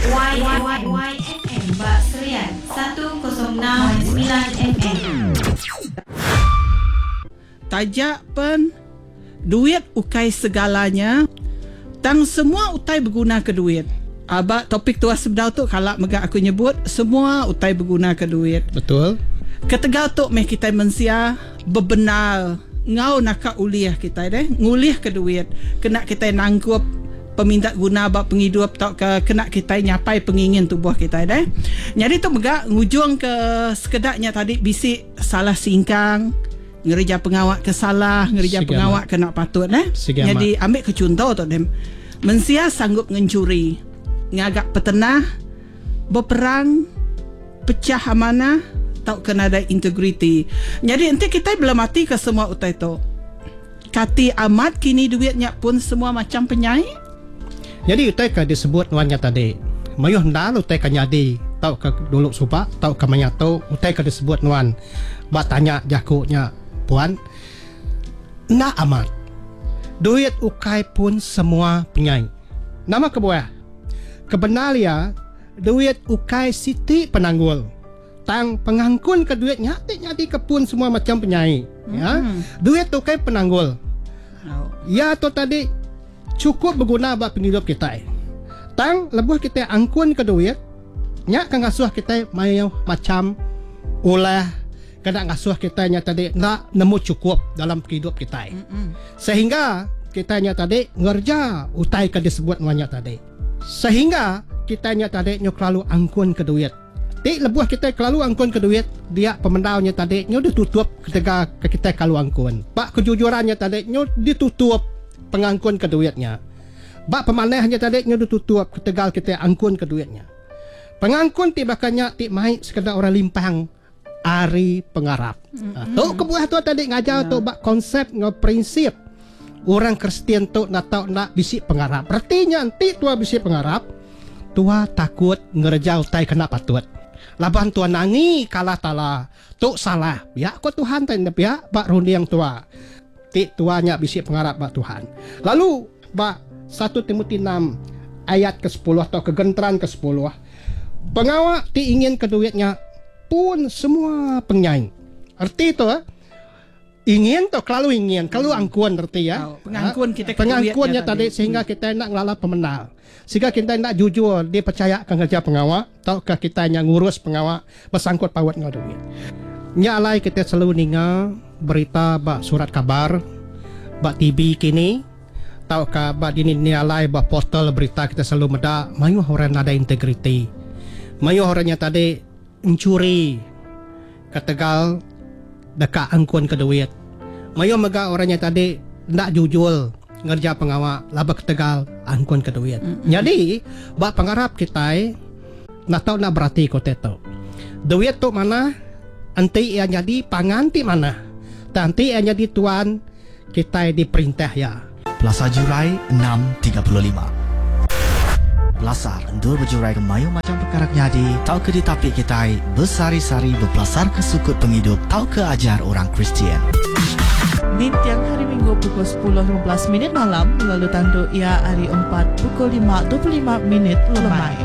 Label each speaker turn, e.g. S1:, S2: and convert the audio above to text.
S1: YYYFM ba Serian 106.9 FM.
S2: Taja pen duit ukai segalanya tang semua utai begunaka duit. Aba topik tuah sebedau tu kala mega aku nyebut semua utai begunaka duit.
S3: Betul.
S2: Ketegal tu meh kitai mensia bebendar enggau naka ulih kitai deh ngulihka duit kena kitai nangkup peminta guna ba pengidup tauka kena kitai nyapai pengingin tubuh kitai deh. Nyadi tu mega ngujungka sekeda nya tadi bisi salah singkang ngereja pengawa ke salah, ngereja
S3: Sigi
S2: pengawa
S3: amat.
S2: ke enda patut deh.
S3: Sigi amat.
S2: Nyadi ambika chunto tu deh mensia sanggup ngenchuri, ngaga petenah, beperang, pechah amanah tauka nadai integriti. Nyadi enti kitai belematika semua utai tu, kati amat kini duit nya pun semua macham penyai?
S3: Nyadi utai ke disebut nuan nya tadi, mayuh endar utai ke nyadi tauka dulu suba tauka maya tu utai ke disebut nuan ba tanya jaku nya puan. Enda amat. Duit ukai pun semua penyai. Nama kebuah? Kebendar iya, duit ukai siti penanggul. Tang pengangkunka duit nya ti nyadika pun semua macham penyai. Ya. Duit tu ukai penanggul. Iya tu tadi chukup beguna ba pengidup kitai. Tang lebuh kitai angkunka duit, nya ke ngasuh kitai mayuh macham ulah kena ngasuh kitai nya tadi enda nemu chukup dalam pengidup kitai. Sehingga kitai nya tadi ngereja utai ke disebut nuan nya tadi. Sehingga kitai nya tadi nyu kelalu angkunka duit. Ti lebuh kitai kelalu angkunka duit, dia pemendar nya tadi nyu ditutup ketegal ke kitai kelalu angkun. Ba kejujuran nya tadi nyu ditutup pengangkunka duit nya. Ba pemanah nya tadi nyu ditutup ketegal kitai angkunka duit nya. Pengangkun ti baka nya ti mai sekeda orang limpang ari pengarap. Tu kebuah tu tadi ngajar tu ba konsep enggau prinsip orang Kristian tu enda tau enda bisi pengarap. Reti nya enti tua bisi pengarap, tua takut ngereja utai ke enda patut. Laban tua nangi ke Allah Taala tu salah. Pia ko Tuhan ti enda pia ba runding tua ti tua nya bisi pengarap ba Tuhan. Lalu ba satu Timoti enam ayat ke sepuluh tauka genteran ke sepuluh, pengawa ti ingin ke duit nya pun semua pengyai. Reti tu ingin tu kelalu ingin, kelalu angkun reti iya.
S2: Pengangkun kita ke
S3: Pengangkun
S2: duit
S3: nya tadi sehingga kita enda ngelala pemendar. Sehingga kita enda jujur dipercayaka ngereja pengawa tauka kita nya ngurus pengawa besangkut paut enggau duit. Nya alai kita selalu ninga berita ba surat kabar, ba TV kini tauka ba dini-dini alai ba portal berita kita selalu meda mayuh orang nadai integriti. Mayuh orang nya tadi enchuri ketegal deka angkunka duit. Mayuh mega orang nya tadi enda jujur ngereja pengawa laban ketegal angkunka duit. Nyadi ba pengarap kitai enda tau enda beratika utai tu. Duit tu manah enti iya nyadi pangan ti manah. Tang enti iya nyadi tuan kitai diperintah iya.
S4: Pelasar Jurai 6:35. Pelasar endur bejurai ke mayuh macham pekara ke nyadi tauka ditapi kitai besehari-sehari bepelasarka sukut pengidup tauka ajar orang Kristian.
S5: Ninting Hari Minggu pukul 10:15 minit malam lalu tandu iya hari Empat pukul 5:25 minit lemai.